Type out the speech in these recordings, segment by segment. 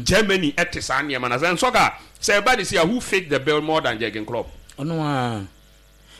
Germany ɛte saa nneɛma na sɛ nsɔka sɛ ɛba ne si a, who fit the bill more than Jurgen Klopp? Ɔno a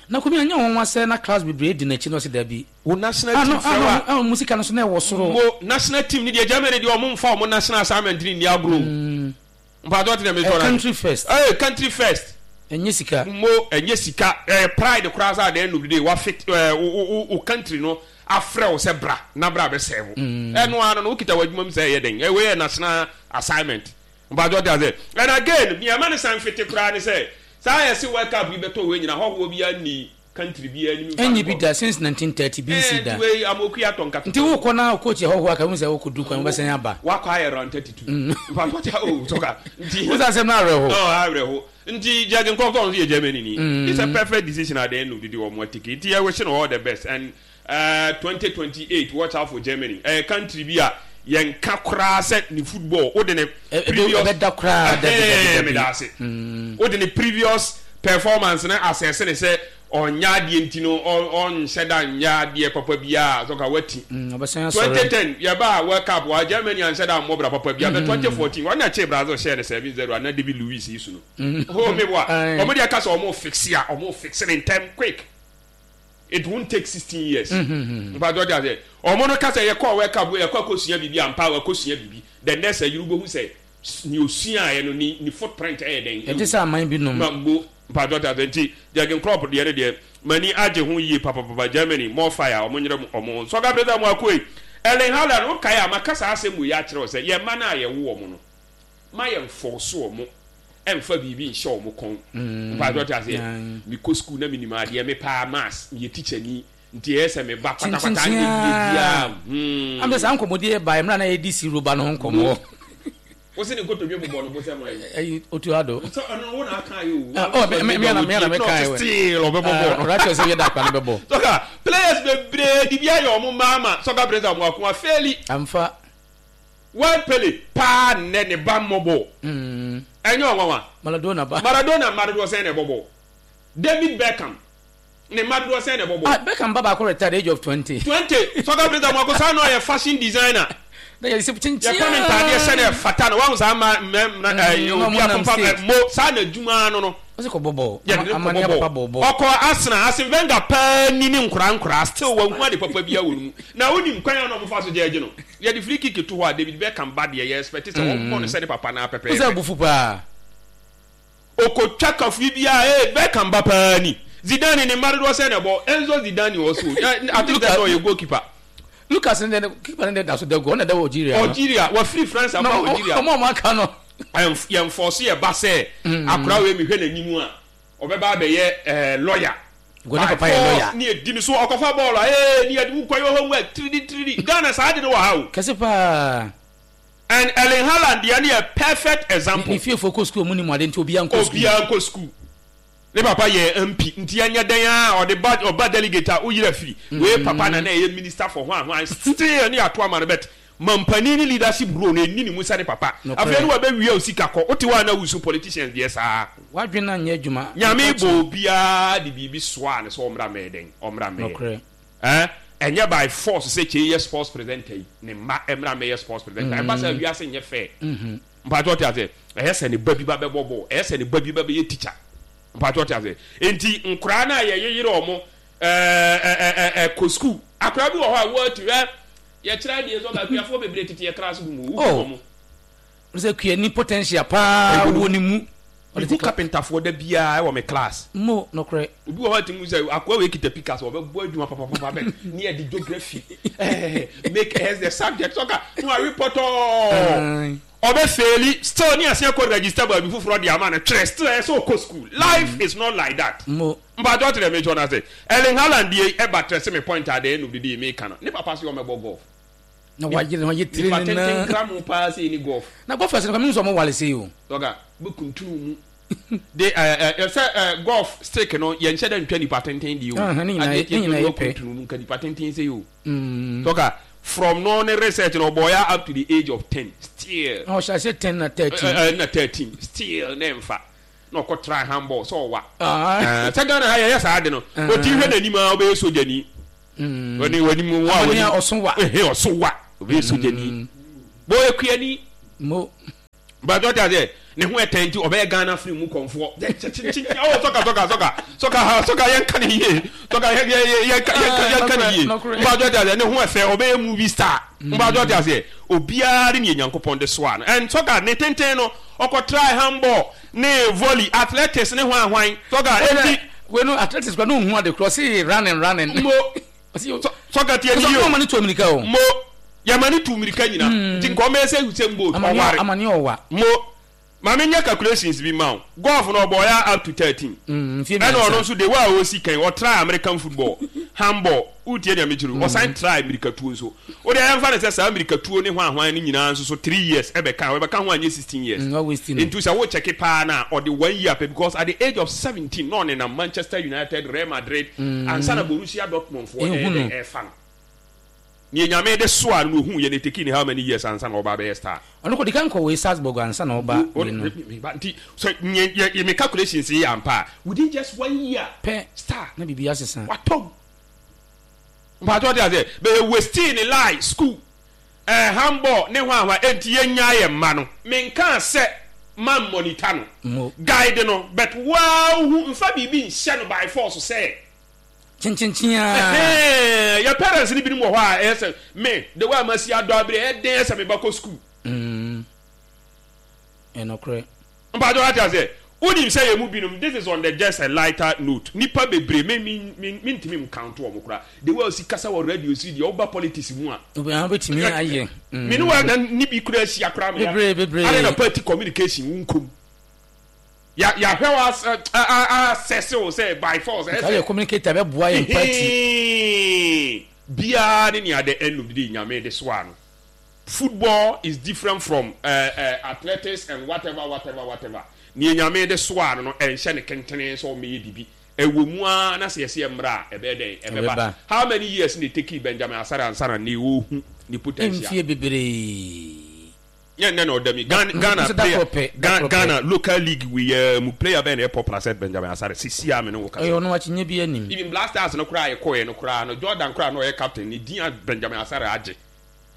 na kumi anya wɔn sɛ na class bebree di n'akyi na ɔsi dabi. Wo national team fɛ wa. Ah, no, musika no so na ɛwɔ soro. Mo national team ni deɛ, Germany deɛ, ɔmo nfa ɔmo national assignment ni ni agorɔ o. Mpatsɔ ti na mi tɔ na. Country first. Ee, country first. Ɛnyɛ sika. Mo ɛnyɛ sika, ɛyɛ pride koraa sɛ at the end of the day wa fit ɛɛ wo wo wo country no afrɛ wo sɛ bra na bra bɛ serve. Ɛno ano no wokita w'adwuma mu sɛ ɛyɛ den, ɛwei yɛ national assignment. Mpatsɔ ti ase. And again, nea ɛma ne san fiti koraa ne sɛ saa yɛ se World Cup yi bɛtɔ wei nyina, hɔhoɔ bi ani country bi anim. Ɛnyɛ bi da since 1930 bi nsi da. Ɛɛ wei amoku atɔ nkata. Nti wokɔ na coach yɛ hɔhoɔ aka hu sɛ wokɔ du kwan wobɛsɛn aba. Wakɔ ayɛ round 32. Mpatsɔ ti o sɔka. Nti. Wosan asɛm no awerɛho. Ɔ awerɛho. Nti Jurgen Klopp nso yɛ Germany ni. It's a perfect decision at the end of the day wɔn atiki. Nti yɛ wish no all the best and 2028, watch out for Germany. Ɛyɛ country bi a yɛn ka koraa sɛ ne football o de ne previous ɛbɛda koraa dabi dabi dabi. Meda ase. O de ne previous performance na asɛse ne sɛ ɔnyɛ adeɛ nti no ɔnhyɛ da nyɛ adeɛ papa biara so ka wati. Ɔbɛsan asɔre. 2010 yɛba World Cup wa Germany anhyɛ da mmɔ bra papa biara, bɛ 2014 wɔn na kye Brazil hyɛɛ no 7-0 ana David Luiz yi so no. Oh, me boa. Wɔn deɛ ka sɛ wɔn fix a, wɔn fix ne ntɛm quick. It won't take 16 years. Mpa jɔ ase. Wɔn no ka sɛ yɛkɔ World Cup, yɛkɔ akɔsua biribi ampa, wakɔsua biribi. The next year wobɛhu sɛ ne osuaeɛ no ne footprint ɛyɛ dɛn. Ɛte sɛ aman bi nom. Ma mo mpa jɔ ase. Nti Jurgen Klopp deɛ ne deɛ mani agye ho yie papapapa. Germany, more fire, wɔn nyere wɔn. Sɔga president mo akoe. Erling Haaland, wokae a maka saa asɛm wei akyerɛ wo sɛ yɛn mma no a yɛwo wɔn no, ma yɛn force wɔn ɛnfa biribi nhyɛ wɔn kɔn. Mpa jɔ ase. Mekɔ school na menim adeɛ, me paa maths, meyɛ teacher ni, nti ɛyɛ sɛ meba patapata nyɛ yie biara. Am sɛ saa nkɔmmɔdi yɛ ba mmerɛ na yɛdi si roba no ho nkɔmmɔ. Wo se ne nkotodwe bobɔ no bo sɛ man. Ɛyi otu ado. Sɛ ɔno wo na aka yɛ o. Ɔ me me na me na me kan yɛ. Still ɔbɛbɔ bɔɔl no. Rachel sɛ yɛ da akpa no bɛbɔ. Sɔka players bebree di bi ayɛ ɔmo mmaa ma sɔka players a ɔmo ako afeeli. Amfa. World Pele paa nnɛ ne ba mmɔ bɔɔl. Ɛnyɛ ɔnwanwa. Maradona ba. Maradona mma dodoɔ sɛn na ɛbɔ bɔɔl? David Beckham ne mma dodoɔ sɛn na ɛbɔ bɔɔl? Ah, Beckham ba baako retired age of 20. 20. Sɔka players a ɔmo ako saa na ɔyɛ fashion designer. Na yɛ sɛ kyenkyen. Yɛpam ntaadeɛ hyɛ no ɛfata no, wahu saa mma mmarima ɛɛ obi apampa mo saa na adwuma no no. Ɔsɛ kɔ bɔ bɔɔl. Yɛde ne kɔ bɔ bɔɔl. Ɔkɔ Arsenal, Arsene Wenger paa ni ne nkoraa nkoraa, still wanhu ade papa biara wɔ ne mu. Na wonim kwan a na wɔfa so gyɛɛgye no? Yɛde free kick to hɔ a, David Beckham ba deɛ, yɛ expect sɛ wɔmmɔ no sɛ ne papa no ara pɛpɛɛpɛ. Wosɛ abufu paa. Ɔkɔtwa kafui biara, ee Beckham ba paa ni. Zidane ne mma dodoɔ sɛn na ɛbɔ? Enzo Zidane also, I think sɛ ɔyɛ goalkeeper. Lucas ne deɛ, keeper ne deɛ da so da gu, ɔno na ɛda wɔ Algeria no. Algeria, wafiri France aba Algeria. Ɔmo a ɔmo aka no. Yɛn force yɛ ba sɛ akora wei mehwɛ n'anim a ɔbɛba abɛyɛ ɛɛ lawyer. Gɔne papa yɛ lawyer. Ne edi ne so ɔkɔfa bɔɔl a ee ne yɛde wo kɔ yɛ homework tiridi tiridi. Ghana saa de no wɔ ha o. Kɛse paa. And Erling Haaland deɛ no yɛ perfect example. Ne fiefoɔ kɔ school, ɔmo nim ade nti obiara nkɔ school. Obiara nkɔ school. Ne papa yɛ MP nti ɛnyɛ dɛn ara ɔde ba, ɔba delegate a woyera firi. Wei papa na na ɛyɛ minister for hwan hwan, still ne yɛato ama no, but mampanin ne leadership role no ɛnni ne mu sɛ ne papa. Afei ne wabɛwia wo sika kɔ, wote hɔ a na wusu, politicians deɛ saa. W'adwene anyɛ adwuma. Nyame bɔ obiara de biribi soaa no sɛ ɔmmra mmɛyɛ dɛn? Ɔmmra mmɛyɛ. Nokorɛ. Eh, ɛnyɛ by force sɛ Kyei yɛ sports presenter yi, ne mma mmra mmɛyɛ sports presenter. Ɛba saa a wiase nyɛ fair. Mpakyɛ ɔte aseɛ? Ɛyɛ sɛ ne ba bi ba bɛbɔ bɔɔl, ɛyɛ sɛ ne ba bi ba bɛyɛ teacher. Mpakyɛ ɔte aseɛ? Nti nkoraa no a yɛyeyere wɔn ɛɛ ɛɛ kɔ school. Akoraa bi wɔ hɔ a wɔatu ɛ yɛkyerɛ adeɛ sɛ ɔka akuafoɔ bebree tete yɛ class room o, wohu wɔn. Sɛ kuani potential paa wɔ ne mu. Mehu kapentafoɔ da biara wɔ me class. Mo nokorɛ. Obi wɔ hɔ a tumi sɛ akoa wei kita pickaxe, ɔbɛbɔ adwuma papapapa bɛ ne yɛde geography make us the subject ɔka no awe pɔtɔɔ ɔbɛ faili still ne aseɛ kɔ register baabi foforɔ de ama no twerɛ, still ɛyɛ sɛ ɔkɔ school. Life is not like that. Mo. Mpakyɛ ɔte dɛ mekyɛ no ase. Erling Haaland die ɛba trɛ se me point at the end of the day meka no ne papa se ɔmɛbɔ golf. Na wayere ho ayɛ tire ne nan. Nipa tenten nkramo paa sei ne golf. Na golfers no kwa mehu sɛ ɔmo wale sei o. Dɔga bɛ kuntunu mu de ɛɛ ɛ sɛ ɛ golf stick no yɛn hyɛ dɛ ntwa nipa tenten deɛ o. Ne nyinaa Adeɛ ne nyinaa tiatia yɛ pɛ. kuntunu mu nka nipa tenten sei o. Dɔga from no ne research no ɔbɔ ya up to the age of 10 still. Na ɔhyɛ ase 10 na 13. Ɛ ɛ na 13 still ne nfa na ɔkɔ try handball sɛ ɔwa. Ɛɛ sɛ Ghana ha yɛyɛ saa ade no. Oti hwɛ n'anim a ɔbɛyɛ sogyani. Wani wani mu wa wani. Ɔso wa. Ehe ɔso wa. Ɔbɛyɛ sogyani. Bɔ ekuani. Mo. But ɔte aseɛ, ne ho ɛtɛn nti ɔbɛyɛ Ghana film mu kɔnfoɔ. Oh, sɔka sɔka sɔka sɔka ha sɔka yɛn ka ne yie sɔka yɛn yɛn yɛn ka yɛn ka ne yie. But ɔte aseɛ, ne ho ɛfɛ ɔbɛyɛ movie star. But ɔte aseɛ, obiara ne yɛ Nyankopɔn de soa no. And sɔka ne tenten no ɔkɔ try handball ne volley, athletics ne hwan hwan. Sɔka enti. Wei no athletics kura no ohun ade kura ɔsi running running. Mo. Sɔka tie ni yie o. Mo yɛma ne tu mirika nyina nti nka ɔmɛyɛ sɛ Usain Bolt ɔware. Amane ɔwa. Mo ma me nyɛ calculations bi ma wo. Golf no ɔbɔɔ ya up to 13. Ɛna ɔno nso the way a ɔsi kan ɔtry American football, handball, wotie nea mekyerɛ wo, ɔsan try mirikatuo nso. Wo deɛ yɛmfa no sɛ saa mirikatuo ne hwan hwan no nyinaa nso so 3 years ɛbɛka ho, ɛbɛka ho anyɛ 16 years. Nti sɛ wo check paa no a ɔde 1 year pɛ because at the age of 17 na ɔnenam Manchester United, Real Madrid ansa na Borussia Dortmund foɔ ɛyɛ dɛn ɛrefa no. Nea Nyame de soaa no na ohuu yɛ no eteki ne how many years ansa na ɔba abɛyɛ star. Ɔno kɔ dikan kɔ wei Salzburg ansa na ɔba wei no. Nti sɛ yɛ yɛ me calculations yi yɛ ampa a within just 1 year pɛ star na biribi asesa. Watɔ mu. Mpakyɛ ɔte aseɛ? Bɛyɛ wastii ne lie, school, eh, handball ne hwan hwan, enti yɛnyaa yɛn mma no. Menkaa sɛ man monitor no, guide no, but woaa wohu, mfa biribi nhyɛ no by force sɛ. Kyenkyenkyen ara. Ɛhɛɛ, yɛ parents no binom wɔ hɔ a ɛyɛ sɛ me, the way a masi adɔ abere, ɛyɛ den sɛ me ba kɔ school. Mm, ɛnokorɛ. Mpakyɛ wate aseɛ? Wonim sɛ yɛn mu binom, this is on the just a lighter note, nnipa bebree, me me me mentumi ncounto wɔn koraa, the way a wosi kasa wɔ radio so yi deɛ, woba politics mu a, Obiara bɛtumi ayɛ. Me ne wo na ne bi koraa ahyia koraa ma Bebree, bebree. Adɛn na party communication wo nkɔ mu? Ya yɛahwɛ wo as a a assess wo sɛ by force ɛyɛ Nka sɛ woyɛ communicator bɛboa yɛn party. Hehee biara ne nea the end of the day Nyame de soaa no. Football is different from eh eh athletics and whatever whatever whatever. Nea Nyame de soaa no no ɛnhyɛ no kentene sɛ ɔmmɛyɛ biribi. Ɛwɔ mu ara na sɛ yɛse ɛmmra a ɛbɛyɛ dɛn? Ɛbɛba. Ɛbɛba. How many years na ɛtekii Benjamin Asare ansa na nnɛ ɔrehu ne potential? Mfie bebree. Nyɛ nnɛ na ɔda mi. Ghana Ghana Nso da player koro pɛ, da Ghana koro pɛ. Ghana local league wei ara mu player bɛn na ɛyɛ popular sɛ Benjamin Asare seesei a me ne wo kasa Ɔyɛ yi? ɔno akyinnye biara nnim. Even Black Stars no koraa a yɛkɔeɛ no koraa no Jordan koraa a na ɔyɛ captain ne din a Benjamin Asare agye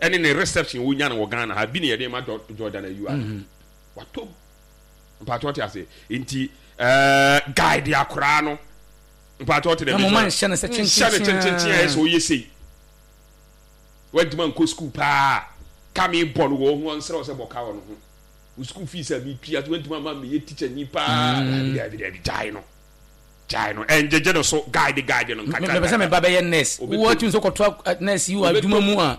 ɛne ne reception a ɔnya no wɔ Ghana ha bi na yɛde ma Jordan Ayew a watɔ mu. Mpakyɛ ɔte aseɛ nti ɛɛ guide akoraa no mpakyɛ ɔte dɛ Na mo ma nhyɛ no sɛ nhyɛ no kyenkyenkyen a ɛyɛ sɛ ɔyɛ sei wantumi ankɔ sukuu paa ka me bɔ no wɔ ho ɔnsrɛ wo sɛ bɔ ka wɔ no ho wo sukuu fees a metua so wantumi ama meyɛ teacher ni paa daabi daabi daabi gyae no Gyae no, ɛngyegye no so, guide guide no nkakra Mepɛ sɛ me ba bɛyɛ nurse. Obeto. Wowɔ tumi sɛ kɔtoa nurse yi wɔ adwuma mu a,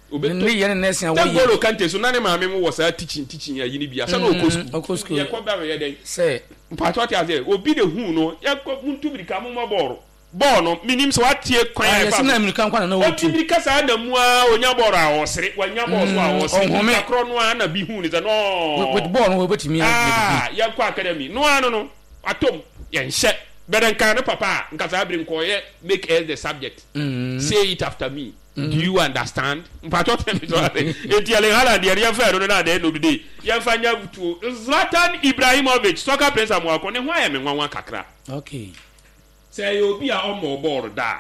ne nneyɛɛ ne nursing a Sɛ wɔyɛ. N'Golo Kante so na ne maame mo wɔ saa teaching teaching ayi no bi a, sɛ na ɔkɔ school. Ɔkɔ school. Yɛkɔ ba bɛyɛ dɛn? Sɛ. Mpakyɛ ɔte aseɛ, obi de huu no, yɛnkɔ, montu mirika mommɔ bɔɔlo. Bɔɔl no, menim sɛ watie kwan a Ah, ɛfa yɛse so. na mmirika nko na na Ɔte ɔtu. mirika saa na mu ara ɔnya bɔɔl a ɔsere, wanya bɔɔl so a ɔsere. Ɔnhome. Mirika korɔ no ara na bi huu no sɛ nɔɔ. With bɔɔl no wɔbɛtumi ayɛ biribi. Ah, yɛnkɔ academy. No ara no no, watɔ mu. Yɛnhyɛ. But nka ne papa a, nka saa bere nka ɔyɛ make us the subject. Say it after me. Do you understand? Mpakyɛw tɛ me so ase. Enti Erling Haaland deɛ no yɛmfa ɛno no na at the end of the day yɛmfa nyɛ tuo. Zlatan Ibrahimovic, soccer prince Amoako, ne ho ayɛ me nwanwa kakra. Okay. Sɛ ɛyɛ obi a ɔmmɔɔ bɔɔl da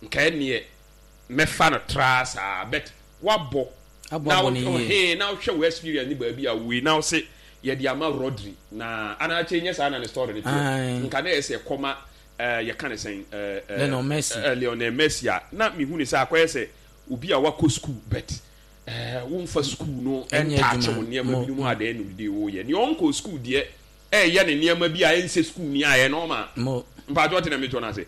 a, nka ɛnneɛ mɛfa no traa saa but woabɔ na wo na wohwɛ wo experience ne baabi a woi na wose yɛde ama Rodri na anaa kyɛ nyɛ saa na ne story no teɛ nka na ɛyɛ sɛ ɛkɔma yɛka ne sɛn Lionel Messi Lionel Messi a na mehu ne sɛ akɔyɛ sɛ obi a wakɔ school but womfa school no ntaakye wo nneɛma binom a dɛn no de woyɛ nea ɔnkɔ school deɛ ɛyɛ ne nneɛma bi a ɛnsɛ school ni a ɛyɛ normal mpakyɛ ɔte na mekyɛ no ase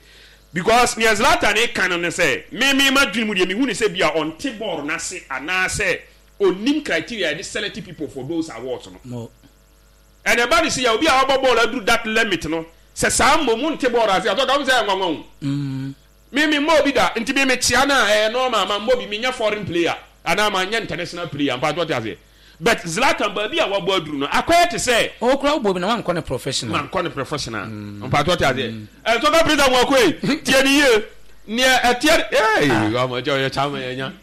because nea Zlatan reka no ne sɛ me me madwene mu deɛ mehu ne sɛ bi a ɔnte bɔɔl no ase anaasɛ ɔnnim criteria yɛde select people for those awards no ɛna ɛba ne sɛ yɛ obi a wabɔ bɔɔl aduru that limit no sɛ saa mmom wonte bɔɔl ase atɔ ka wo sɛ ɛnwanwa o Me me mmɔ obi da nti me me kyea no a ɛyɛ normal ma mmɔ bi me nyɛ foreign player anaa ma nyɛ international player mpakyɛ ɔte aseɛ but Zlatan baabi a wabɔ aduru no akɔyɛ te sɛ. Ɔwɔ koraa wobɔ bi na wankɔ ne professional. Mankɔ ne professional mpakyɛ ɔte aseɛ ɛnsɔka prison mu akɔ yi tie ne yie neɛ ɛteɛ ee ɔmɔ kyɛ ɔyɛ kyama yɛ nya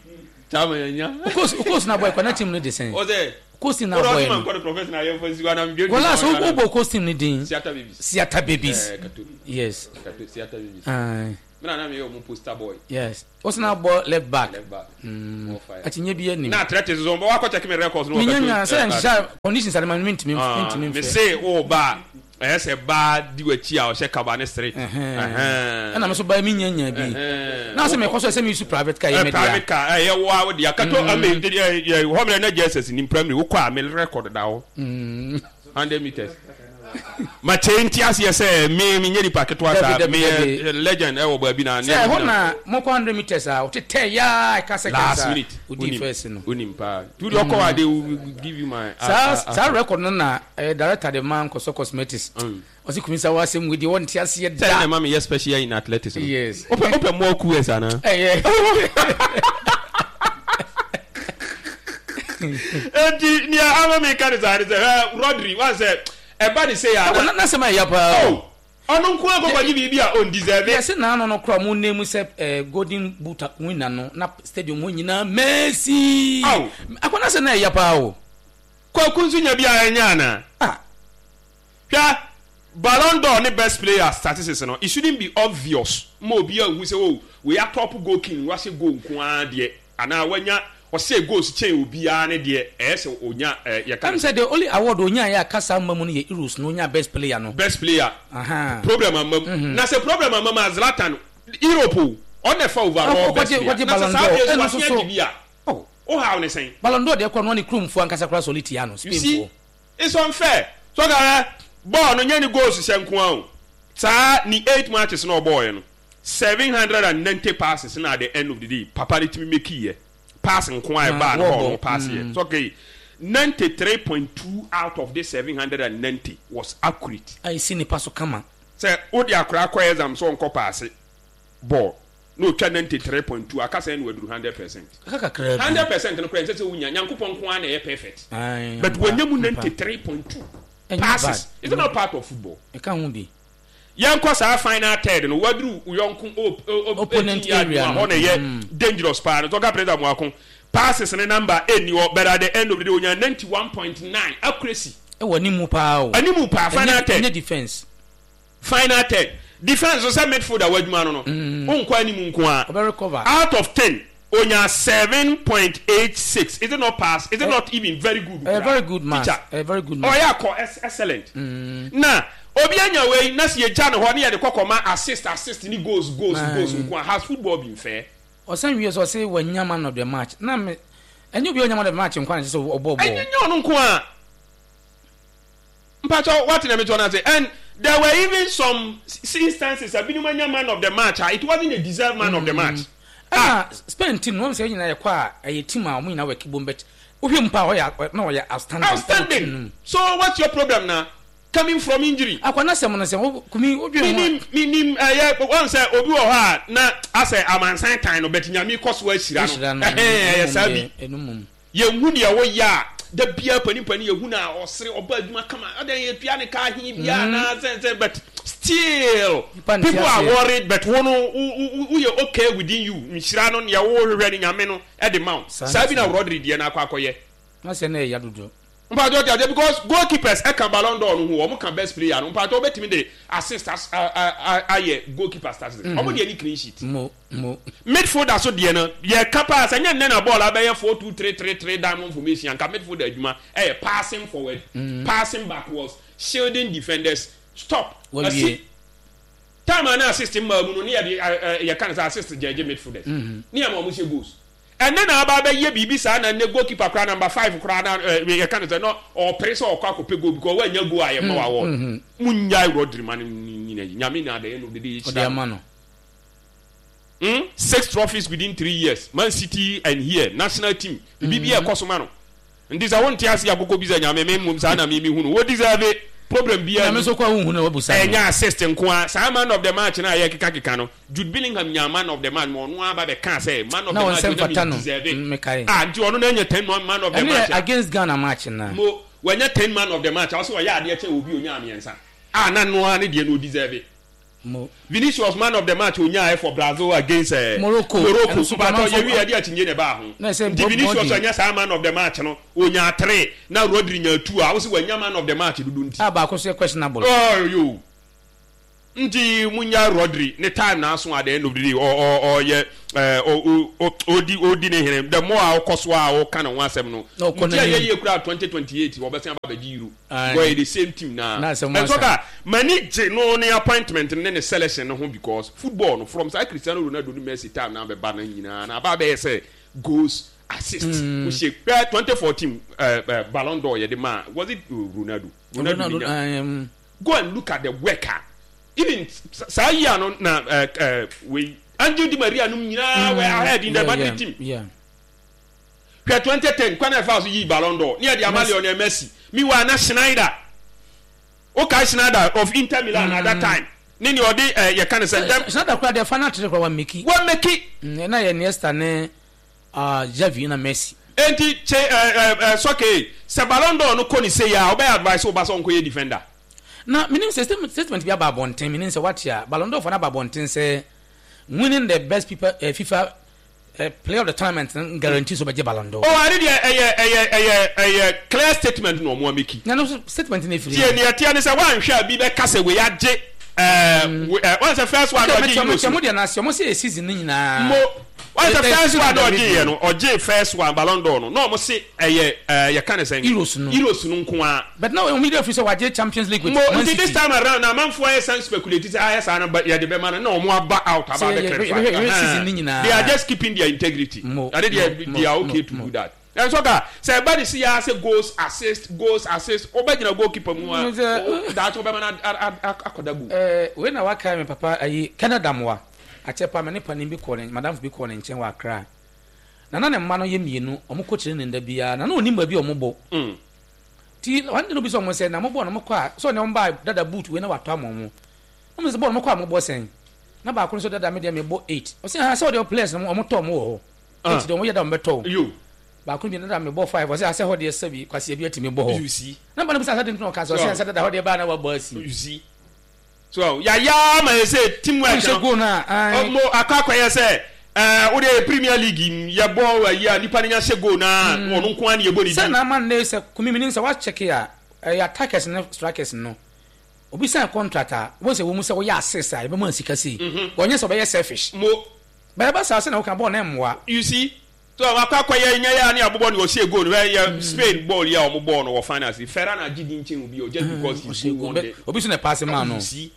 kyama yɛ nya. Okos na bɔ ɛkɔ na team no de sɛn. Ɔsɛ Okos team na bɔ yɛ no. Mankɔ ne professional yɛ fɔ siwa na mi. Wɔla so wobɔ Okos team no din. Siata babies. Siata babies. Ɛɛ kato. Yes. Kato Siata babies. Aye. Me na na meyɛ ɔmo poster boy. Yes. Wo sena bɔ left back. Left back. More fire. Akyinnye bi anim. Na athletics nso ɔmo wakɔ check me records no wɔ Menya nya sɛ nhyehyɛ conditions ade ma no mentumi mentumi Me mfrɛ. se wo ba a ɛyɛ sɛ baa di w'akyi a ɔhyɛ kaba ne sere. Ɛna me so baa mi nya nya bi. Na sɛ mekɔ so ɛsɛ me use private car yɛ me dea. Private car ɛyɛ wo a wo dea. Kato ame hɔ mmerɛ na JSS nim primary wokɔ a me record da hɔ. 100 meters. Ma kyɛ nti aseɛ sɛ me menyɛ nipa ketewa saa meyɛ legend ɛwɔ baabi na sɛ ɛhɔ na mokɔ 100 meters a wotetɛ yaa ɛka seconds last minute wodi first no wonim paa tu deɛ ɔkɔ a they will give you my saa saa record no na ɛyɛ director de ma nkɔsɔ cosmetics ɔsi kumi sa wasɛm wei deɛ wɔnte aseɛ da sɛ na ɛma meyɛ special in athletics no yes wopɛ wopɛ more coolers anaa ɛyɛ Enti nea ama meka ne saa ne sɛ, hwɛ Rodri, woahu sɛ ɛba ne sei a na. N'asɛm a ɛya paa o. Oh, ɔno nko ara kɔkɔgye biribi a ɔndeserve. Yɛse n'ano no koraa ɔmo name sɛ eh, golden boot winner no na stadium hɔ nyinaa Messi. Ao. Akɔ n'asɛm na ɛya paa o. Kwaku nso nya bi a ɛnyɛ anaa? Ah. Hwɛ, Ballon d'Or ne best player statistics no, it shouldn't be obvious ma obiara nhu sɛ oh, wei atɔpo goal king, wahyɛ goal nko ara deɛ, anaa wanya, ɔhyɛɛ goals kyɛn obiara ne deɛ, ɛyɛ sɛ onya eh, yɛka Ɛm no sɛ sɛ. the only award onyaeɛ a kasa amma mu no yɛ Euros no, onyaa best player no. Best player, Ahaa. problem amma mu. Na sɛ problem amma mu a, Zlatan, Europe o, ɔno na ɛfa overall best Ɔkɔgye player. kɔgye Na sɛ Ballon saa d'Or, berɛ nso ɛno nso wasen so. agye bi a, Oh. wohaw ne sɛn? Ballon d'Or deɛ koraa no, ne kuromfoɔ ankasa koraa sɔre tia no, You see? Spainfoɔ. It's unfair. So ɔka hwɛ bɔɔl no nyɛ ne goals hyɛ nko ara o. Saa ne 8 matches na ɔbɔɔyɛ no 790 passes na at the end of the day papa no tumi make yɛ. Pass nko ara ɛbaa no hɔ ɔno pass yɛ. So okay 93.2 out of this 790 was accurate. A esi nipa so kama. Sɛ wode akwadaa kɔ exam sɛ ɔnkɔ paase bɔɔl na otwa 93.2 aka sɛn na waduru 100%. Aka kakraa bi. 100% no koraa ɛnsɛ sɛ wonya, Nyankopɔn nko ara na ɛyɛ perfect. Ae, But ampa, wanya mu ampa. 93.2 Ɛnyɛ passes. bad. Is it not part of football? Ɛka ho bi. Yɛnkɔ saa final third no, waduru wo yɔnko o, o, o, Opponent 18 yard mu area a no. hɔ na ɛyɛ dangerous paa no. So ɔka President Amoako, passes ne number ɛnni hɔ, but at the end of the day onya 91.9 accuracy. Ɛwɔ animu paa o. Animu paa, final Ɛnyɛ, third. ɛnyɛ defense. Final third, defence so sɛ midfielder w'adwuma no no, wonkɔ anim nko ara. Ɔbɛ recover. Out of 10, onya 7.86. Is it not pass? Is it not even very good Ɛyɛ koraa? very good man. Teacher, Ɛyɛ very good man. ɔyɛ akɔ excellent. Na obi anya wei na sɛ yɛgya ne hɔ ne yɛde kɔ kɔma assist assist ne goals goals goals nko ara, has football been fair? Ɔsan wie sɛ ɔse wanya man of the match. Na me, ɛnyɛ obi a ɔnya man of the match nko ara na ɛsɛ sɛ ɔbɔ bɔɔl. Ɛnyɛ ɔno nko ara. Mpakyɛw wate nea mekyerɛ no ase? And there were even some instances a binom anya man of the match a it wasn't a deserved man of the match. Ah! Ɛna Spain team no wɔn sɛ yɛn nyinaa yɛkɔ a ɛyɛ team a wɔn nyinaa wɔ kibom but wohwɛ mu paa ɔyɛ na ɔyɛ outstanding. Outstanding! So what's your problem na? Coming from injury. Akwa n'asɛm no sɛ wo kumi wodwen ho a. Minim minim ɛyɛ wɔn sɛ obi wɔ hɔ a na asɛ amansan tan no but Nyame kɔ so ahyira no. Ɛhɛn ɛyɛ saa bi. Ɛno mmom. Yɛnhu deɛ woyɛ a, da biara panin panin yɛhu no a ɔsere, ɔba adwuma kama, adɛn yɛtua ne ka ahe biara anaa sɛ sɛ but still people are worried but wo no woyɛ okay within you, nhyira no deɛ wohwehwɛ no Nyame no de ma wo. Saa bi na Rodri deɛ no akɔ akɔyɛ. N'asɛm no yɛ ya dodo. Mpakyɛw te aseɛ because goalkeepers ɛka Ballon d'Or no ho wɔn ka best player no mpakyɛw wobɛtumi de assist ayɛ goalkeeper statistics wɔn deɛ ne clean sheet. Mo mo. Midfielder so deɛ no yɛ ka paa sɛ nyɛ nnɛ na bɔɔl abɛyɛ 4-2-3-3-3 diamond formation anka midfielder adwuma ɛyɛ passing forward passing backwards shielding defenders stop Wawie. Asi time a na assist mmaa mu no ne yɛde yɛka no sɛ assist gyɛgye midfielders ne yɛ ma wɔn hyɛ goals. Ɛnnɛ na aba abɛyɛ biribi saa na nnɛ goalkeeper koraa number five koraa na eh, yɛka no sɛ na ɔpere sɛ ɔkɔ akɔpɛ goal because wannya goal a yɛma wo award. Munnyae Rodri ma no nyina yi. Nyame na at the end of the day Ɔde yɛhyira no. ama no. Hmm? Six trophies within 3 years. Man City and here, national team. Biribi bi a ɛkɔ so ma no. Nti sɛ wonte ase a kɔkɔ bisa Nyame, me mmom saa na me mehu no. Wo deserve problem biara Nyame nni. nso kɔ a wonhu no wabusa no. Ɛnyɛ assist nko ara. Saa man of the match no a yɛkeka keka no, Jude Bellingham nyaa man of the match ma ɔno ara ba bɛkaa sɛ man of Na the wɔn match nsɛm no na fata me no. deserve. Mekae. Ah, nti ɔno na anya 10 man of the Ɛno match yɛ a. against Ghana match no a. Mo, wanya 10 man of the match a, ɔsɛ ɔyɛ adeɛ kyɛn obi a onyaa mmiɛnsa. Ah, na no ara ne deɛ no ɔdeserve. Mo. Vinicius man of the match onyaeɛ for Brazil against eh, Morocco. Morocco. Ɛno nso Mpakyɛw amanfoɔ yɛwie ɛde akyinnye na ɛbaa ho. Na ɛsɛ Nti Bob Vinicius Body. anya saa man of the match no, onyaa three, na Rodri nyaa two a, wose wanya man of the match dodo nti. A baako nso yɛ questionable. Oh, yo. Nti munya Rodri ne time na aso at the end of the day ɔ ɔ ɔyɛ ɛɛ ɔ ɔ ɔdi ɔdi ne hene the more a ɔkɔ so a ɔka ne ho asɛm no Na ɔkɔ nti ɛyɛ n'anim. yie koraa 2028 wɔbɛsan aba abɛgye Euro Aye. because ɛyɛ the same team naa Na asɛm ɛnso asa. ka m'ani gye no ne appointment no ne ne selection no ho because football no from saa Cristiano Ronaldo ne Messi time na abɛba no nyinaa na aba abɛyɛ sɛ goals assist wohyɛ hwɛ 2014 ɛɛ ɛɛ Ballon d'Or yɛde maa was it Ronaldo Ronaldo Ronaldo, ne nya um, Go and look at the work a even saa year no na eh, eh, wei Angel Di Maria nom nyinaa were ahead in the Madrid team. Yeah. Hwɛ 2010 kwan a ɛfaa so yii Ballon d'Or ne yɛde ama Lionel Messi. Meanwhile na Schneider, wokae Schneider of Inter Milan at that time ne nea ɔde eh, yɛka ne sɛ ntɛm Schneider koraa deɛ final three koraa wammeki. Wammeki. Na yɛ Iniesta ne Ah Xavi na Messi. Enti kye eh eh eh sɔkee sɛ ballon d'or no kɔ ne sei a wobɛyɛ advice wo ba sɛ ɔnkɔyɛ defender? Na menim sɛ statement bi aba abɔnten, menim sɛ woate a, Ballon d'Or foɔ no aba abɔnten sɛ winning the best people, eh, FIFA eh, player of the tournament no guarantee sɛ ɔbɛgye Ballon d'Or. Oh ɛno deɛ ɛyɛ ɛyɛ ɛyɛ ɛyɛ clear statement na ɔmo ameki. Na no statement no efiri. Tie nea ɛteɛ ne sɛ woanhwɛ a bi bɛka sɛ wei agye ɛɛ ɛɛ wɔn sɛ first one ɔgye Euros no. Mɛkyɛ mo deɛ no ase, ɔmo sɛ yɛ season no nyinaa. Mo. Wɔn sɛ first one na ɔgye yɛ no, ɔgye first one Ballon d'Or no, na wɔn se ɛyɛ ɛɛ yɛka ne sɛn? Euros no. Euros no nko ara. But na wɔn yɛrɛ firi sɛ wagye Champions League with Mo Man nti this City. time around na amanfoɔ ayɛ san speculate sɛ ayɛ saa no ba yɛde bɛma no na wɔn aba out aba Sɛ abɛ yɛ clarify. yɛbɛhwɛ yɛbɛhwɛ season no Ahaa. nyinaa. They are just keeping their integrity. Mo Ade mo deɛ mo they are mo okay to mo. do that. Ɛnso ka sɛ ɛba ne si ya sɛ goals assist goals assist wobɛgyina goalkeeper mu a Mo sɛ daakye wobɛma no akɔda goal. Ɛɛ wei na wakae me papa ayi Canada moa. Akyɛ paa me ne panin bi kɔɔ ne madamfo bi kɔɔ ne nkyɛn wɔ Accra. Na na ne mma no yɛ mmienu, wɔn kɔ training da biara. Na na onim baabi a wɔn bɔ. Ti one day na obisa wɔn sɛ, na mo bɔ no mo kɔ a, sɛ ɔne wɔn ba dada boot wei na watɔ ama wɔn. Na wɔn sɛ bɔɔl no mo kɔ a mo bɔ sɛn? Na baako no sɛ dada me deɛ me bɔ eight. Ɔsɛ ha sɛ ɔde players no wɔn tɔ wɔn wɔ hɔ. Eight deɛ wɔn yɛ da wɔn bɛtɔ o. Baako no bi dada me bɔ five. Ɔsɛ asɛ hɔ deɛ sɛbi kwasi ebi atumi bɔ hɔ. Na ba no bisa sɛ de ntina ɔka sɛ ɔsɛ asɛ dada hɔ deɛ baa na wabɔ asi. So yɛayɛ ara ma yɛ sɛ team work no. Goal no a. Ɔmo akɔ akɔyɛ sɛ ɛɛ wode yɛ Premier League mu yɛbɔ ayi a nipa no nya hyɛ goal na mm. ɔno nko ara na yɛbɔ ne din. Sɛ na ama nnɛ sɛ kumi mi nim sɛ wakyɛke a ɛyɛ attackers ne strikers no obi sign contract a wɔn sɛ wɔn mu sɛ wɔyɛ assist a yɛbɛma sika sei mhm. wɔnyɛ sɛ ɔbɛyɛ selfish. Mo. Bɛyɛ ba saa sɛ na wɔka bɔɔl na mmoa. You see so wakɔ akɔyɛ nyɛ yɛ ne abobɔ ne ɔhyɛ goal no yɛ mm. Spain bɔɔl yi a wɔn bɔɔl no wɔ finals Ferran agye di nkyɛn obi o just mm, because he goal won the obi so na paase maa no. You see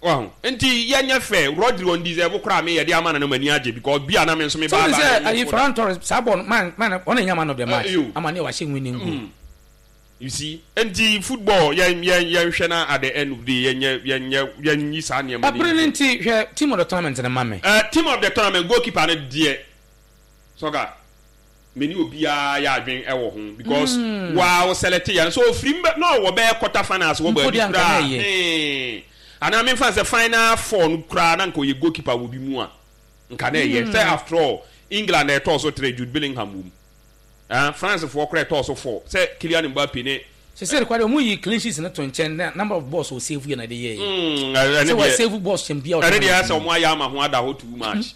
wahu nti yɛnyɛ fɛ Rodri on deserve koraa me yɛde ama no no m'ani agye because bi a na me nso me ba ba sɛ ayi Ferran Torres saa bɔɔl man man ɔna nya man of the match ama ne wahyɛ winning goal. Mm. You see? Enti football yɛn yɛn yɛnhwɛ na at the end of the day yɛnyɛ yɛnyɛ yɛnyi saa nneɛma no Ɛbere no nti hwɛ team of the tournament no ma me. Eh, team of the tournament goalkeeper no deɛ sɔga me ne obiara yɛ adwen ɛwɔ ho because mm. waa wo select yɛ no so ofiri mbɛ na ɔwɔ bɛyɛ quarter finals wɔ baabi koraa hmm. Anaa memfa sɛ final four no koraa na nka ɔyɛ goalkeeper wɔ bi mu a nka na ɛyɛ sɛ after all England na ɛtɔɔ so tere Jude Bellingham wɔ mu. Ah, France foɔ koraa ɛtɔɔ so four sɛ Kylian Mbappe ne. Sesei no koraa deɛ ɔmo yi clean sheets no to nkyɛn na number of balls wɔ save yɛ na ɛde yɛɛ. Mm, ɛne deɛ. Sɛ wɔ save balls kyɛn bia. Ɛne deɛ sɛ ɔmo ayɛ ama ho ada hɔ too much.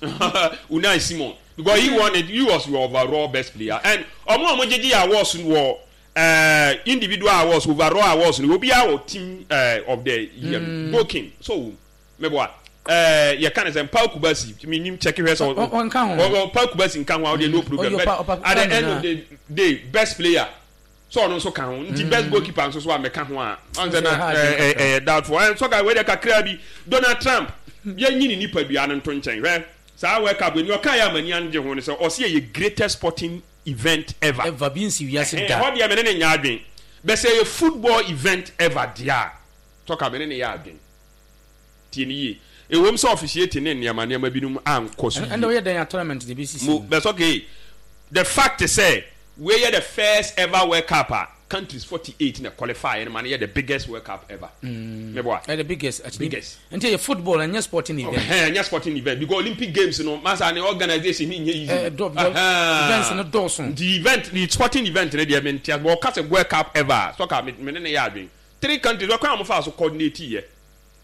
Unai Simon because he won it, he was your overall best player and ɔmo a ɔmo gyegye yɛ awards wɔ uh, individual awards, overall awards no obiara wɔ team uh, of the year mm. Goal king so Meboa. Ɛɛ yɛka ne sɛ Paul Kubasi menim check hwɛ sɛ ɔnka ho. Paul Kubasi nka ho a ɔdeɛ no problem but at the end of the day best player sɛ ɔno nso ka ho nti best goalkeeper nso so a mɛka ho a ɔn sɛ na ɛɛ ɛyɛ doubtful ɛn sɔka wei deɛ kakra bi Donald Trump yɛnyi ne nipadua no nto nkyɛn hwɛ saa World Cup ni ɔka yɛ amani angye ho no sɛ ɔsi ɛyɛ greatest sporting event ever. Ever bi nsi wiase da. Ɛhɔ deɛ me ne ne nyɛ adwen bɛ sɛ ɛyɛ football event ever deɛ a sɔka me ne ne yɛ adwen. Tie no yie. Ɛwom sɛ officiating ne nneɛma nneɛma binom ankɔ so yie. Ɛnde woyɛ dɛn a tournament de bɛsisi mu? But okay, the fact sɛ wei yɛ the first ever World Cup a countries 48 na qualify no ma no yɛ the biggest World Cup ever. Meboa? Ɛyɛ the biggest. Actually. Biggest. Nti ɛyɛ football ɛnyɛ sporting event. Ɛhɛn, ɛnyɛ sporting event because Olympic Games no masa ne organization ne nyɛ easy. Ɛɛ dɔ events no dɔɔso. Nti event the sporting event no deɛ mente ase but ɔka sɛ World Cup ever a soccer me ne no yɛ adwene. Three countries ɔkwan a wɔfaa so coordinate yɛ.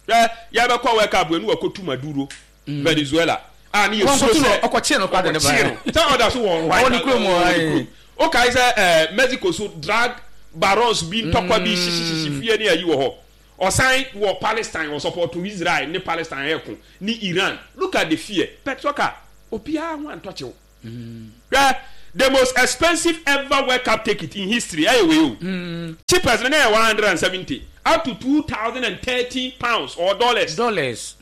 Hwɛ, yɛbɛkɔ World Cup wei ne wɔkɔtu Maduro, Venezuela, a ne yɛsuro sɛ ɔkɔkyee no koraa de ne baeɛ. Ɔkɔkyee no. Sɛ ɔda so wɔ White Ɔwɔ ne kurom hɔ, Ɔwɔ ne kurom. Wokae sɛ ɛɛ Mexico so drug barons bi ntɔkwa bi hyehyehyehye fie ne ayi wɔ hɔ. Ɔsan wɔ Palestine, ɔsupporto Israel ne Palestine ɛko ne Iran. Look at the fear. But soccer, obiara ho antɔ kyew. Hwɛ, the most expensive ever World Cup ticket in history ɛyɛ wei o. Cheapest no na ɛyɛ 170 up to £2,030 or dollars. Dollars.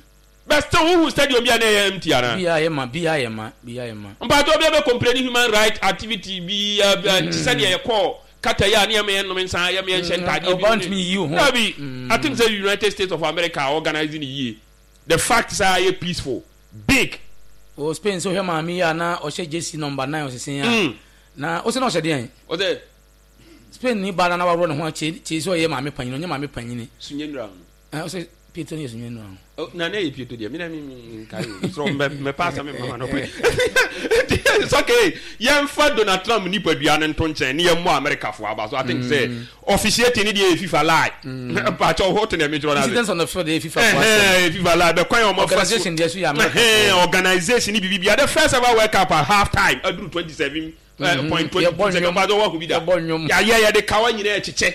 But still wohu stadium bi a na ɛyɛ empty anaa? Bi ayɛ ma, bi ayɛ ma, bi ayɛ ma. Mpakyɛ obi abɛ complain human right activity bi te sɛ deɛ yɛkɔɔ Qatar yi a ne yɛma yɛnnom nsa, yɛma yɛnhyɛ ntaadeɛ bi Ɔbaa ntumi yiyi wo ho. Dabi, I think sɛ United States of America organize ne yie. The fact sɛ ayɛ peaceful, big. Wɔ Spain sɛ wohwɛ maame yi a na ɔhyɛ jersey number 9 ɔsesen a, na wosɛ na ɔhyɛ deɛn? Ɔsɛ Spain ni baa na na waworɔ ne ho akyɛ kyɛ sɛ ɔyɛ maame panyini, ɔnyɛ maame panyini. Sunye nnura ho. Ɔsɛ Pieto no yɛ sunye nnura ho. Oh, na na yɛ pieto deɛ mena nkae o sɛ mɛpa asɛm mma no pɛ. It's okay, yɛmfa Donald Trump nipadua no nto nkyɛn ne yɛmmɔ Amerikafoɔ aba so. I think sɛ officiating ne deɛ yɛ FIFA lie. Mpakyɛ wo te na mekyerɛ no ase. Incidents on the field yɛ FIFA fo asɛm. FIFA lie bɛkwan a wɔfa so. Organisation deɛ so yɛ America. Organisation ne biribi bia. The first ever World Cup at half time aduru 27 point 22 second. Mpakyɛ wɔn bi da. Yɛayɛ yɛde kawa nyinaa kyekyɛ.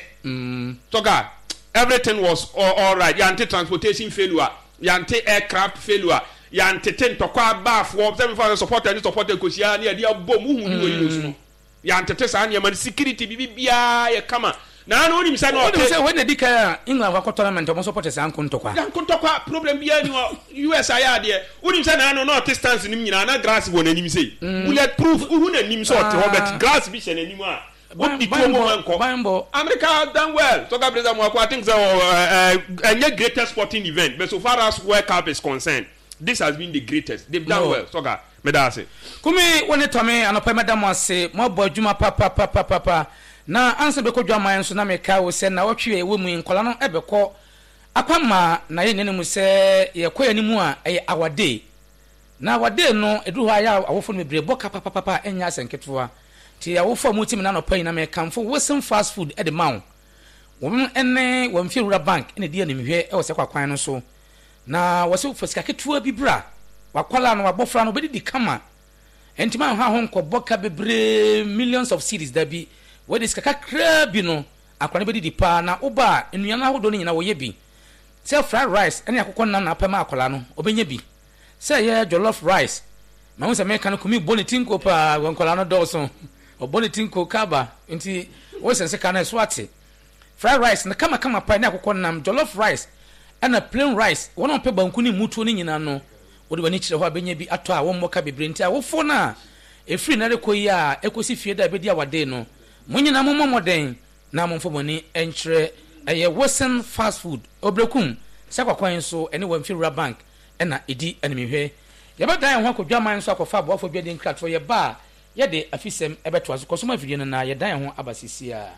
Tɔka everything was all right. Yɛante transportation failure, yɛante aircraft failure, yɛantete ntɔkwa abaafoɔ sɛ mefa sɛ supporter ne supporter kɔhyia ne yɛde abɔ mu hu ne wɔ yi no. Yɛantete saa nneɛma no, security biribi biara yɛ kama. Na ano wonim sɛ na ɔte. Wonim sɛ wei na di kan a England wakɔ tournament ɔmo supporters anko ntɔkwa. Yanko ntɔkwa, problem biara ni hɔ. US ayɛ adeɛ. Wonim sɛ na ano na ɔte stands no mu nyinaa na grass wɔ n'anim sei. Bullet proof, wohu n'anim sɛ ɔte hɔ but glass bi hyɛ n'anim a wodi tuo mu ma nkɔ. America has done well. Soccer Blazer Moako, I think sɛ ɛnyɛ greatest sporting event but so far as World Cup is concerned, this has been the greatest. They've done well. Soccer, meda ase. Kumi, wo ne Tɔme, anɔpa yi mɛda mo ase. Moabɔ adwuma papapapapa. Na ansa na bɛkɔ dwaman nso na mekae wo sɛ nnawɔtwe a yɛwɔ mu yi nkwadaa no bɛkɔ akwamma na yɛnnya no mu sɛ yɛkɔ yɛn anim a ɛyɛ our day. Na our day no ɛduru hɔ a yɛ a awofo no bebree bɔ ka papapapa a ɛnyɛ asɛ nketewa. Nti awofo a motie me no anɔpa yi na mekamfo Wilson Fast Food de ma wo. Wɔn ne wɔn Mfiewura Bank na ɛdi animhwɛ wɔ saa kwakwan no so. Na wɔse fa sika ketewa bi bra, w'akwadaa no, w'abɔfra no, ɔbɛdidi kama. Ɛnti ma nha ho nkɔbɔ ka bebree, millions of cedis, dabi. Wei de sika kakraa bi no, akwadaa no bɛdidi paa. Na woba a, nnuane ahodoɔ no nyinaa wɔyɛ bi. Sɛ fried rice ne akokɔ nam na wopɛ ma akwadaa no, ɔbɛnya bi. Sɛ ɛyɛ jollof rice, mahu sɛ meka no Kumi bɔ ne ti nko paa, wɔ nkwadaa no dɔɔso. Ɔbɔ ne ti nko kaba, nti wosɛnse ka no ɛso ate. Fried rice no kamakama paa ne akokɔ nam, jollof rice ɛna plain rice. Wɔn a wɔpɛ banku ne mutuo no nyinaa no, wode w'ani kyerɛ hɔ a bɛnya bi atɔ a wɔmmɔ ka bebree. Nti awofoɔ no a ɛfiri nnɛ rekɔ yi a ɛkɔsi fie da a ɛbɛdi awadee no, mo nyinaa mommɔ mmɔden na momfa mo ani nkyerɛ ɛyɛ Wilson Fast Food, Obrekum, Sakwa kwan so ɛne Wamfi Rural Bank na ɛdi animhwɛ. Yɛbɛdan yɛn ho akɔ dwaman so akɔfa aboafoɔ dwadie nkratoɔ, yɛba a yɛde afisɛm bɛtoa so. Kɔ so ma afidie no na yɛdan yɛn ho aba seesei ara.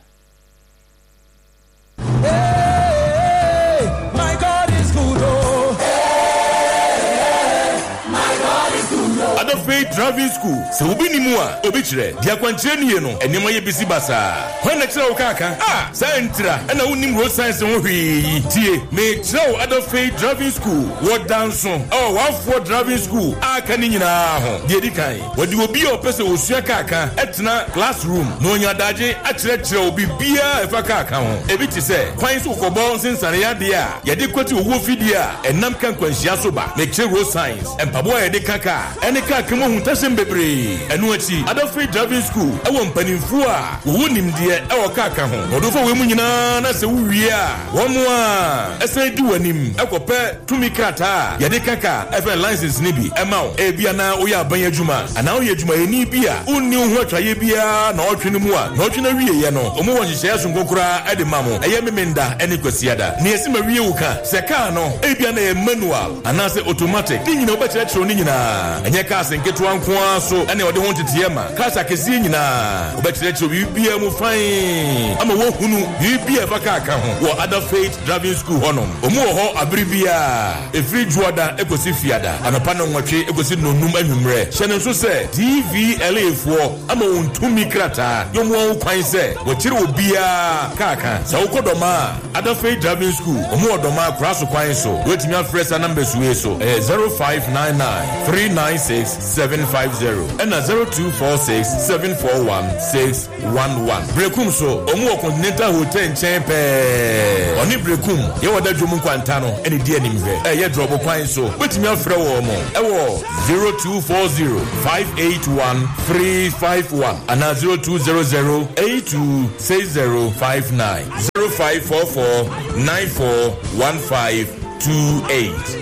Hey, my God is good, oh. Hey, my God is good, oh. Adafei Driving School, Sɛ obi nni mu a, obi kyerɛ. Deɛ akwankyerɛ nnie no, nneɛma yɛ bisi basaa. Hwan na kyerɛ wo kaa ka? Ah! Saa ntira na wonnim road signs ho hwee yi. Tie, merekyerɛ wo Adafei Driving School wɔ Danso wɔ w'afoɔ driving school a aka no nyinaa ho. Deɛ ɛdi kan, Wɔde obi a ɔpɛ sɛ osua kaa ka tena classroom na onya adagye akyerɛkyerɛ wo biribiara a ɛfa kaa ka ho. Ebi te sɛ kwan so kɔkɔbɔ nsensanee ade a yɛde kwati owuo fidie a ɛnam ka nkwanhyia so ba, mekyerɛ road signs, mpaboa a yɛde ka kaa, ɛne kaa ka mu ahuntasɛm bebree. Ɛno akyi, Adafei Driving School wɔ mpanimfoɔ a wɔwɔ nimdeɛ wɔ kaa ka ho na wɔde wo fa wei mu nyinaa na sɛ wowie a, Wɔn a ɛsan di w'anim kɔpɛ tumi krataa a yɛde ka kaa a ɛfrɛ no license no bi ma wo. Ebia na woyɛ aban adwuma anaa woyɛ adwumayɛni bi a wonni wo ho atwaeɛ biara nnawɔtwe no mu a nnawɔtwe no awieeɛ no wɔwɔ nhyehyɛeɛ sononko koraa de ma mo. Ɛyɛ Memenda ne Kwasiada. Nea ɛsi ma wie wo ka sɛ kaa no ebia na ɛyɛ manual anaasɛ automatic ne nyinaa wobɛkyerɛkyerɛw ne nyinaa. Ɛnyɛ cars nketewa nko ara so na wɔde ho nteteeɛ ma, cars akɛseɛ nyinaa. Wɔbɛkyerɛkyerɛ biribiara mu fann ama woahunu biribi a ɛfa kaa ka ho wɔ Ada Faith Driving School hɔnom. Wɔn wɔ hɔ abere biara, ɛfiri Dwoada kɔsi Fiada, anɔpa nnɔnwɔtwe kɔsi nnɔnnum anwummerɛ. Hyɛ no nso sɛ DVLA foɔ ama wɔn tumi krataa de wɔn ho kwan sɛ wɔkyere obiara kaa ka. Sɛ wokɔ Dɔmaa a, Ada Faith Driving School, wɔn wɔ Dɔmaa Koraso kwan so. Wobɛtumi afrɛ saa numbers wei so, ɛyɛ 0599 396 7. 750 ɛna 0246 741 611. Berekum so, wɔn wɔ Continental Hotel nkyɛn pɛɛ. Ɔne Berekum yɛ wɔ Dadwom nkwanta no ɛna di animhwɛ. Ɛyɛ Drɔbo kwan so. Wobɛtumi afrɛ wɔn ɛwɔ 0240 581 351 anaa 0200 826059, 0544 941528.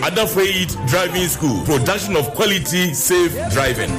Ada Faith Driving School, production of quality, safe driving. Ei,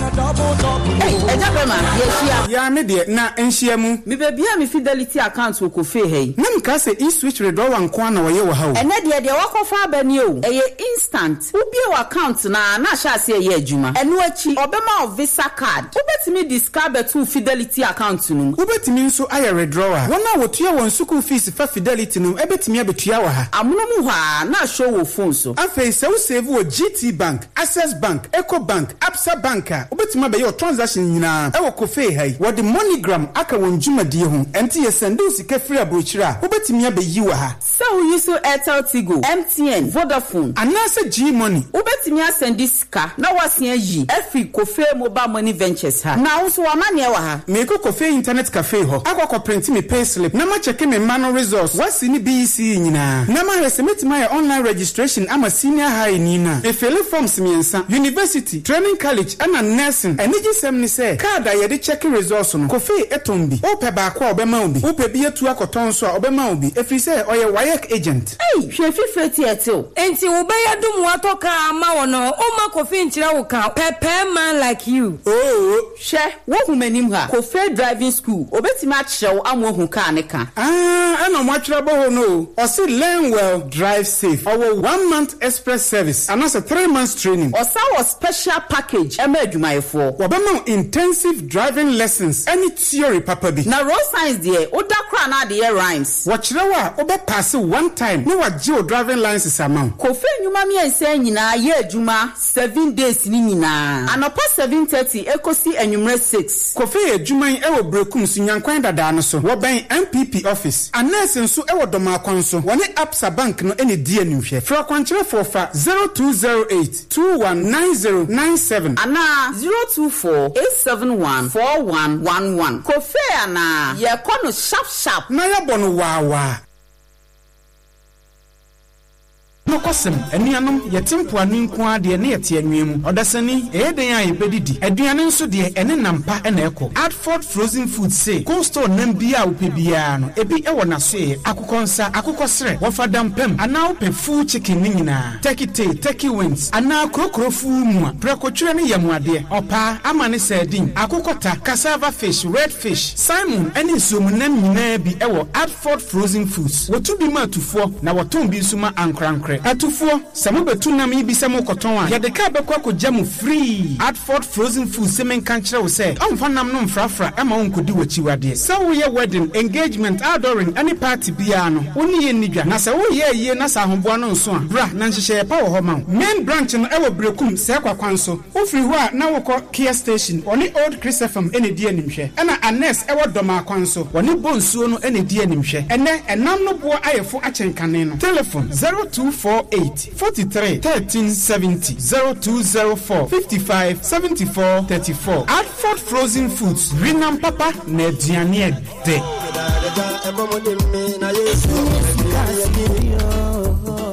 Agya Bɛma, yɛahyia. Yaa me deɛ, na nhyia mu. Mebɛbuee me Fidelity account wɔ Kofee ha yi. Na mekaa sɛ E-switch redɔwa nko ara na wɔyɛ wɔ ha o. Ɛnɛ deɛ, deɛ woakɔfa aba nie o. Ɛyɛ instant. Wobue w'account no ara na ahyɛ aseɛ reyɛ adwuma. Ɛno akyi, wɔbɛma wo Visa card. Wobɛtumi de sika abɛto wo Fidelity account no mu. Wobɛtumi nso ayɛ withdrawal. Wɔn a wɔtua wɔn sukuu fees fa Fidelity no bɛtumi abɛtua wɔ ha. Amono mu hɔ ara na ashow wɔ phone so. Afei sɛ wo save wɔ GT Bank, Access Bank, Eco Bank, Absa Bank a, wobɛtumi abɛyɛ wo transaction nyinaa wɔ Kofee ha yi. Wɔde MoneyGram aka wɔn dwumadie ho, ɛnti yɛ sɛnde wo sika firi aburokyire a, wobɛtumi abɛyi wɔ ha. Sɛ wo use Airtel Tigo, MTN, Vodafone. Anaasɛ G-Money. Wobɛtumi asɛnde sika na woasen ayi afiri Kofee Mobile Money Ventures ha. Na wo nso w'amanneɛ wɔ ha. Meekɔ Kofee Internet Cafe hɔ akɔ akɔprinte me payslip na makyɛke me mma no results, WASSCE ne BECE nyinaa, na mahwɛ sɛ mɛtumi ayɛ online registration ama senior high ni no a. Mefele forms mmiɛnsa, University, Training College ɛna Nursing. Anigyesɛm ne sɛ, card a yɛde kyɛke results no, Kofee tɔn bi. Wopɛ baako a, ɔbɛma wo bi. Wopɛ bi atu akɔtɔn nso a, ɔbɛma wo bi, ɛfiri sɛ ɔyɛ WAEC agent. Ei, hwɛ fifire ti ɛte o. Enti wo bɛyɛ dom watɔ car ama wo no womma Kofi nkyerɛ wo ka pɛpɛɛ man like you. Oo. Hwɛ, wohu m'anim ha? Kofee driving school, obetumi akyerɛ wo ama woahu car ne ka. Aah ɛna ɔmo atwerɛ abɔ hɔ no o. Ɔse learn well, drive safe. Ɔwɔ one month express service anaasɛ 3 months training. Ɔsan wɔ special package ɛma adwumayɛfoɔ. Wɔbɛma wo intensive driving lessons ɛne theory papa bi. Na road signs deɛ, woda koraa na ade yɛ rhymes. Wɔkyerɛ wo a, wobɛ paase one time na wagye wo driving license ama wo. Kofi nnwuma mmiɛnsa yi nyinaa yɛ adwuma 7 days ne nyinaa. Anɔpa 7:30 ekosi anwummerɛ 6. Kofi yɛ adwuma yi wɔ Berekum so Nyankwan dadaa no so. Wɔbɛn NPP office. Anɛɛse nso wɔ Dɔmaakwan so. Wɔne Absa Bank no na edi animhwɛ. Frɛ ɔkwankyerɛfoɔ fa 0208 219097. Anaa 024 871 4111. Kofi anaa yɛkɔ no sharp sharp. Na yɛbɔ no waawaa. Nokwasɛm, anuanom, yɛte mpoano nko ara deɛ ne yɛte anwea mu. Ɔdasani, ɛyɛ dɛn a yɛbɛdidi? Aduane nso deɛ, ɛne nam pa na ɛkɔ. Adford Frozen Foods se, cold store nam biara a wopɛ biara no, ebi wɔ n'asoɛeɛ. Akokɔ nsa, akokɔ serɛ, wɔfa dampam, anaa wopɛ full chicken ne nyinaa, turkey tail, turkey wings, anaa kurokuro fuu mu a, prɛkotwerɛ ne yamuadeɛ, ɔpaa, amane sardine, akokɔta, cassava fish, red fish, salmon ne nsuomunam nyinaa bi wɔ Adford Frozen Foods. Wɔtu bi ma atufoɔ na wɔtɔn bi nso ma ankorankorɛ. Atufoɔ, sɛ mobɛtu nam yi bi sɛ morekɔtɔn a, yɛde kaa bɛkɔ akɔgya mo free. Adford Frozen Foods se menka nkyerɛ wo sɛ ɔmfa nam no mfrafra ma wo nkɔdi w'akyiwadeɛ. Sɛ woreyɛ wedding, engagement, outdooring ne party biara no, wo ne yɛn nni dwa. Na sɛ woreyɛ ayie na sɛ ahoboa no nso a, bra na nhyehyɛeɛ pa wɔ hɔ ma wo. Main branch no wɔ Berekum, Sɛɛkwa kwan so. Wofiri hɔ a na wokɔ Kia Station, wɔne Old Chris FM na ɛdi animhwɛ. Ɛna Anes wɔ Dɔmaa kwan so, wɔne Bonsuo no na ɛdi animhwɛ. Ɛnnɛ, ɛnam no boɔ ayɛ fo akyɛn kane no. Telefon, 0248 43 13 70, 0204 55 74 34. Adford Frozen Foods, wenam papa na aduane ɛdɛ.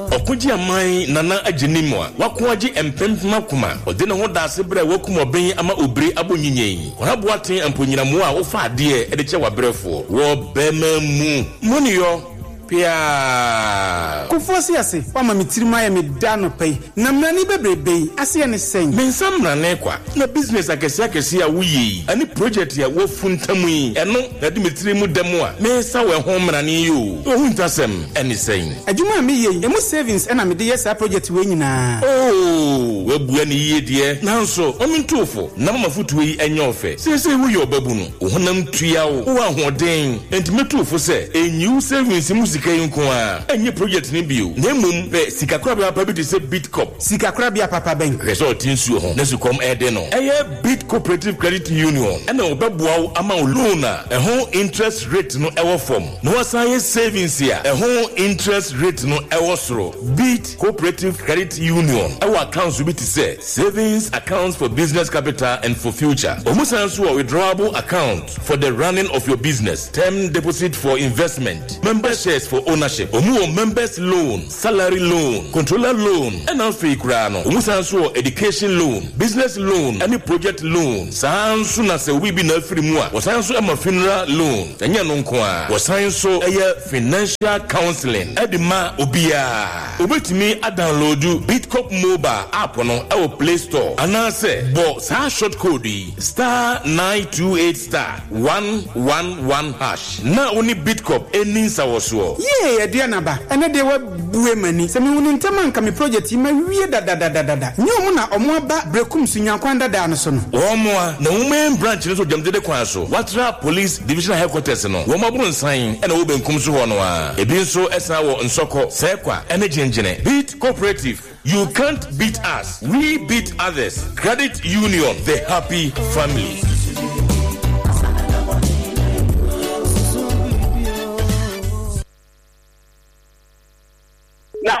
Ɔkogye aman nana agye nim a wako agye mpempem akoma ɔde ne ho da ase berɛ a wakum ɔben ama obire abɔ nyinyin Kwara Boateng amponyinamoa a wofa adeɛ de kyɛ w'abrɛfoɔ wɔ bɛrima mu moneyɔ piaa. Kofoɔ se ase, woama me tirim ayɛ me dɛ anɔpa yi, na mmerane bebrebe yi, aseɛ ne sɛn? Me nsa mmerane kwa, na business akɛseɛ akɛseɛ a woyɛ yi, ɛne project a woafuntam yi, ɛno na ɛde me tiri mu dɛm a mesa wo ɛho mmerane yi o. Ohuntasɛm ɛne sɛn? Adwuma a meyɛ yi, emu savings na mede yɛ saa project wei nyinaa. Oo, woabua no yie deɛ, nanso ma mentu wo fo na ma m'afotuo yi nyɛ ɔfɛ. Seesei woyɛ ɔbabunu, wo honam tua wo, wowɔ ahoɔden, enti mɛtu wo fo sɛ, nyi wo savings mu sika. sika yi nko ara ɛnyɛ project no bio, na mmom pɛ sikakorabea papa bi te sɛ Bidcorp. Sikakorabea papa bɛn? Hwɛ sɛ ɔte nsuo ho na sukɔm rede no. Ɛyɛ Bid Cooperative Credit Union na wɔbɛboa wo ama wo loan a ɛho interest rate no wɔ fam na woasan ayɛ savings a ɛho interest rate no wɔ soro. Bid Cooperative Credit Union wɔ accounts bi te sɛ Savings accounts for business capital and for future. Wɔn san nso wɔ withdrawable account for the running of your business, term deposit for investment, member shares for ownership. Wɔn wɔ members loan, salary loan, controller loan, ɛna afei koraa no wɔn san nso wɔ education loan, business loan ɛne project loan. Saa ara nso na sɛ obi bi na afiri mu a, wɔsan nso ma funeral loan. Ɛnyɛ ɛno nko ara, wɔsan nso yɛ financial counseling de ma obiara. Wobɛtumi adownloadu Bitcorp Mobile app no wɔ Play Store anaasɛ bɔ saa short code yi, star 928 star 111 hash na wo ne Bitcorp nni nsawɔsoɔ. Yie Aduanaba, ɛnɛ deɛ wabue m'ani. Sɛ mehu no ntɛm a anka me project yi mawie dadadadada. Nyɛ ɔmo na ɔmo aba Berekum Sunyankwan dadaa no so no. Wɔn a na wɔn main branch no so Gyamdede kwan so, Watra Police Divisional Headquarters no, wɔn abronsan na ɛwɔ benkum so hɔ no ara. Ebi nso san wɔ Nsɔkɔ, Sɛɛkwa ne Gyengyene. Beat Cooperative, you can't beat us, we beat others. Credit Union, the happy family. Na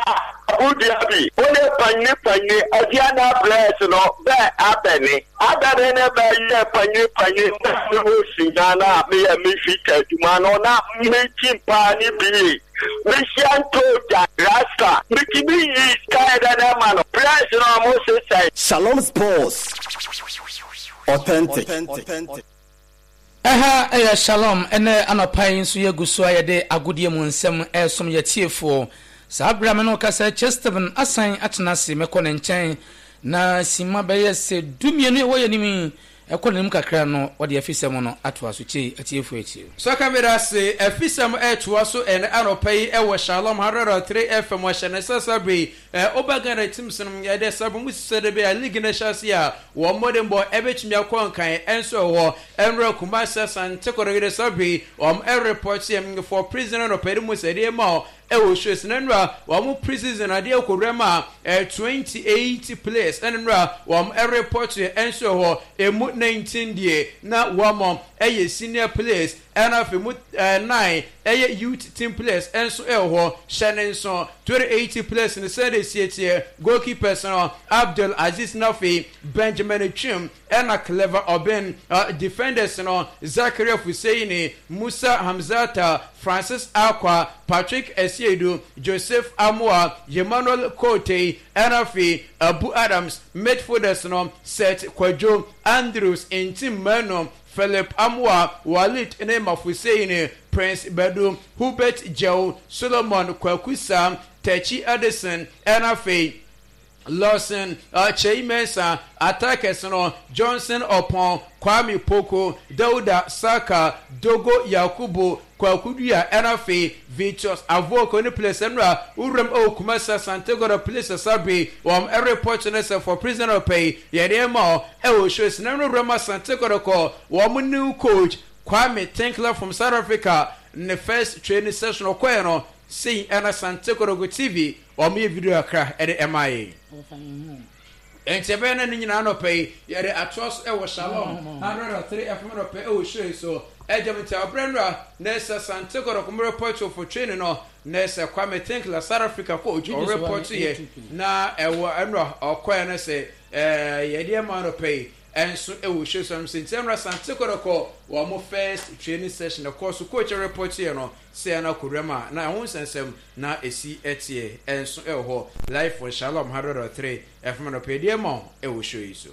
abodua bi, wo ne panyini panyini adia na bless no bɛ abɛne abɛne ne bɛ yɛ panyini panyini na me ho sinya na me yɛ me fita adwuma no na me kyi paa ne bie me hyia nto gya rasta me tumi yi sika yɛ dɛ na ma no bless no ɔmo sesɛe. Shalom Sports Authentic. Ɛha yɛ Shalom, ɛnnɛ anɔpa yi nso yɛgu so a yɛde agodie mu nsɛm resom yɛn atiefoɔ. Saa berɛ a me ne wo kasa yi, Che Stephen asan atena ase, mɛkɔ ne nkyɛn na simma bɛyɛ sɛ dumienu a ɛwɔ yɛn anim yi, ɛkɔ n'anim kakra no, wɔde afisɛm no atoa so. Che, atiefoɔ atie o. Sɔka meda ase, afisɛm retoa so ɛnnɛ anɔpa yi wɔ Shalom 103 FM, wɔahyɛ ne nsa saa berɛ yi Ɛ Woba Ghana teams no ɛdɛ sɛ mo sɛ de bɛyɛ league no hyɛ ase a wɔn mmɔdenbɔ ɛbɛtumi akɔ nkan ɛnso ɛwɔ ɛnora Kumasi Asante Kɔtɔkɔ de saa bere wɔn ɛreport yɛ for prison anɔpa yi mu sɛ ɛdeɛ ma ɛwɔ shows na nnora wɔn pre-season adeɛ kɔwura ma ɛ 28 players ɛna nnora wɔn ɛreport yɛ ɛnso ɛwɔ emu 19 deɛ na wɔn ɛyɛ senior players Ɛna afei mu nnan ɛyɛ youth team players nso ɛwɔ hɔ. Hyɛ ne nso 2018 players no sɛdeɛ ɛsie teɛ, goalkeepers no Abdul Aziz na afei Benjamin Twum ɛna Clever Obeng, defenders no Zakaria Fuseini, Musa Hamzata, Francis Akwa, Patrick Asiedu, Joseph Amoah, Emmanuel Kotei ɛna afei Abu Adams, midfielders no Seth Kwadwo, Andrews Ntim Manu, Philip Amoah, Walid ne Mafuseini, Prince Badu, Hubert Gyau, Solomon Kwaku Sam, Tachi Addison, ɛna afei Lawson Kyei Mensah, Attackers no, Johnson Opon, Kwame Poku, Dauda Saka, Dogo Yakubu, Kwaku Dua, ɛna afei Vitus Avoko ne players nnura wuram ɛwɔ Kumasi Asante Godo Police Asabere wɔn ɛreport ne sɛ for prison ɔpɛ yi yɛde ɛma ɔ ɛwɔ shows na no wuram Asante Godo kɔ wɔn new coach Kwame Tinkler from South Africa ne first training session ɔkɔɛ no sei ɛna Asante Godo TV wɔn yɛ video akra ɛde ɛma yɛ. Enti ɛbɛyɛ na ne nyinaa anɔpa yi yɛde atoa so wɔ Shalom 103 FM anɔpa wɔ show yi so. Agya mu nti abrɛ nnora na ɛsɛ Asante Kɔtɔkɔ mo report for training no na ɛsɛ Kwame Tinkler South Africa coach ɔ report yɛ na ɛwɔ nnora ɔkɔɛ no sɛ yɛde ɛma anɔpa yi ɛnso ɛwɔ show so sɛ nti nnora Asante Kɔtɔkɔ wɔn mo first training session ɛkɔ so coach report yɛ no sɛ ɛna kɔwura mu a na ɛho nsɛnsɛm na ɛsi ɛteɛ ɛnso ɛwɔ hɔ live for Shalom 103 FM anɔpa yi deɛ ma wo ɛwɔ show yi so.